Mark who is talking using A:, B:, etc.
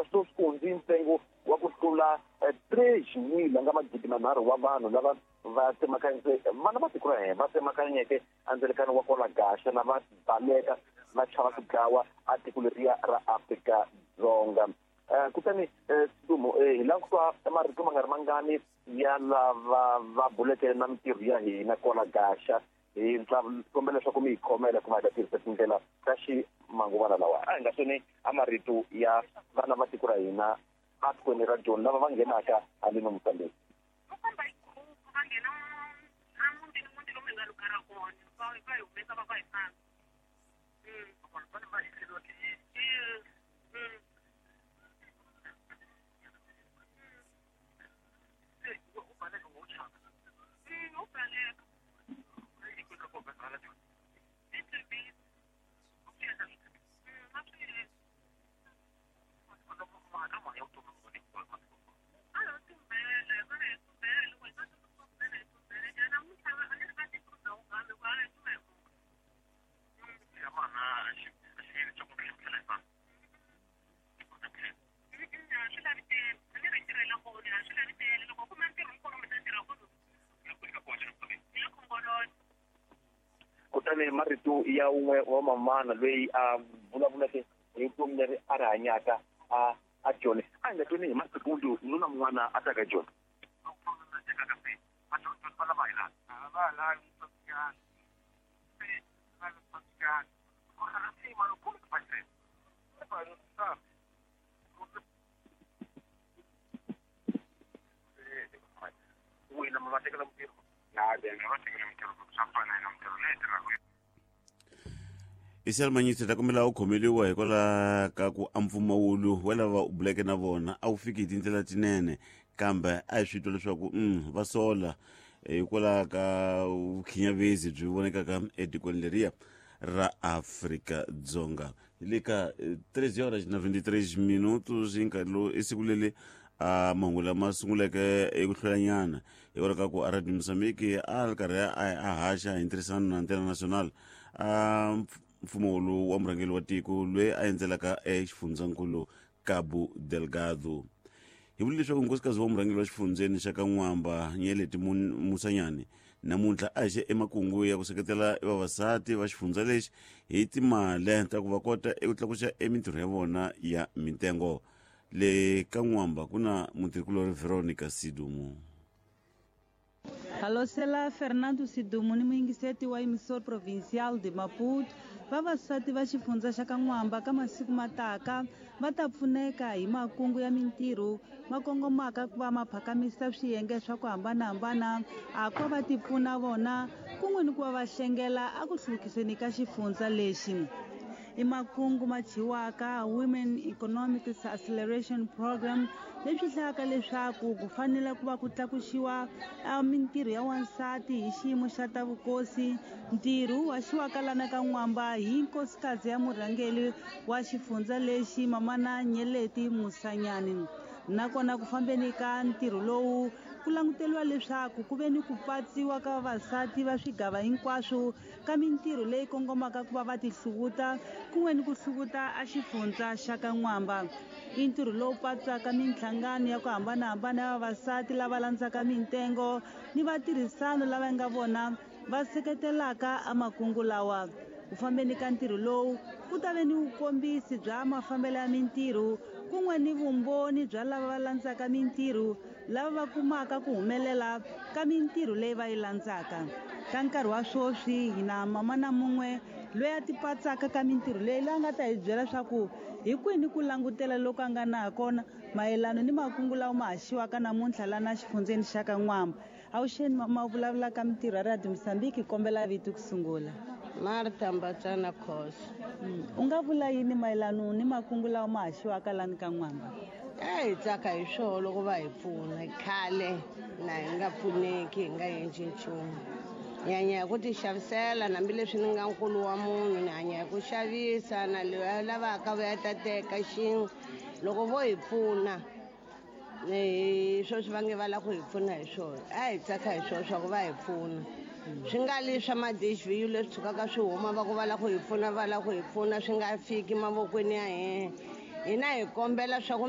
A: Sweswi ku hundzi ntsengo wa ku tlula 3,000 nga magidi manharhu wa vanhu lava va tsemakanyise vana va tiko ra hina va tsemakanyeke endzilekano wa kwala Gaxa na va baleka va chava ku dlawa a tiko leriya ra Afrika Dzonga. Kutani Sidumo hi lava ku twa marito ma nga ri mangani ya lava va buleke na mintirho ya hina kwala Gaxa. Hi ta kombela leswaku mi hi khomela ku va hi ta tirhisa tindlela ta ximanguvana lawa. A hi nga tweni a marito ya vana va tiko ra hina atikweni ra Joni lava va nghenaka haleno Mozambique.
B: Va famba hi group va nghena a mutini muti lomu hi nga lugara kona va va hi humesa va va hi famba.
A: Kutani marito ya un'we wa mamana loyi a vulavuleke hi vutomi leri a ri hanyaka a a Joni a hi nga tweni hi masikundu nuna mun'wana a taka Joni.
C: Isel Manyisi ta kombela u khomeliwa hikwalaho ka ku a mpfumawulo wa lava u buleke na vona a wu fiki hi tindlela tinene kambe a hi swi twa leswaku va sola hikwalaho ka vukhinyavezi byi vonekaka etikweni leriya ra Afrika Dzonga. Hi le ka 3 horas na 23 minutos hi nkarhi lowu i siku leri a mahungu lama sunguleke eku hlwelanyana hikwalaho ka ku a Radio Mozambique a ri karhi a haxa hi ntirhisano na Antena Nacional a mfumo wa murhangeri wa tiko loyi a endzelaka exifundzankulu Cabo Delgado. Hi vule leswaku nkosikazi wa murhangeri wa xifundzeni xa ka N'wamba Nyeleti Musanyane namuntlha a haxe emakungu ya ku seketela vavasati va xifundza lexi hi timali ta ku va kota eku tlakusa emintirho ya vona ya mintengo. Le ka N'wamba ku na mutirhikulorhi Veronica Sidumo.
D: Halosela Fernando Sidumo ni muyingiseti wa Emissor Provincial de Maputo, vavasati va xifundza xa ka N'wamba ka masiku mataka va ta pfuneka hi makungu ya mintirho ma kongomaka ku va ma phakamisa swiyenge swa ku hambanahambana a ku va va tipfuna vona kun'we ni ku va va hlengela a ku hluvukiseni ka xifundza lexi. I makungu ma thyiwaka Women Economic Acceleration Program leswi hlayaka leswaku ku fanele ku va ku tlakuxiwa mintirho ya wansati hi xiyimo xa ta vukosi. Ntirho wu haxiwaka lana ka N'wamba hi nkosikazi ya murhangeri wa xifundza lexi Mamana Nyeleti Musanyani. Nakona ku fambeni ka ntirho lowu ku languteriwa leswaku ku ve ni ku patsiwa ka vavasati va swigava hinkwaswo ka mintirho leyi kongomaka ku va va tihluvuta kun'we ni ku hluvuta a xifundza xa ka N'wamba. I ntirho lowu patsaka minhlangano ya ku hambanahambana ya vavasati lava landzaka mintengo ni vatirhisano lava nga vona va seketelaka a makungu lawa. Ku fambeni ka ntirho lowu ku ta ve ni vukombisi bya mafambelo ya mintirho kun'we ni vumbhoni bya lava va landzaka mintirho lava va kumaka ku humelela ka mintirho leyi va yi landzaka. Ka nkarhi wa swoswi hi na mamana mun'we loyi a tipatsaka ka mintirho leyi loyi a nga ta hi byela swa ku hi kwini ku langutela loku a nga na kona mayelano ni makungu lawa ma haxiwaka namuntlha lana xifundzeni xa ka N'wamba. Avuxeni mama, u vulavula ka mintirho ya Radio Mozambique, hi kombela vito ku sungula.
E: Martha Mbatsana Khosa.
D: U nga vula yini mayelano ni makungu lawa ma haxiwaka lani ka N'wamba?
E: A hi tsaka hi swona loko va hi pfuna. Khale na hi nga pfuneki, hi nga endli nchumu. Hi hanya hi ku ti xavisela, hambileswi ni nga nkulu wa munhu ni hanya hi ku xavisa na loyi a lavaka vuya ta teka xin'we. Loko vo hi pfuna hi sweswi va nge va lava ku hi pfuna hi swona, a hi tsaka hi swona swa ku va hi pfuna. Swi nga li swa ma-D_H_V_U leswi tshukaka swi huma va ku va lava ku hi pfuna, va lava ku hi pfuna swi nga fiki mavokweni ya hina. Hina hi kombela swa ku.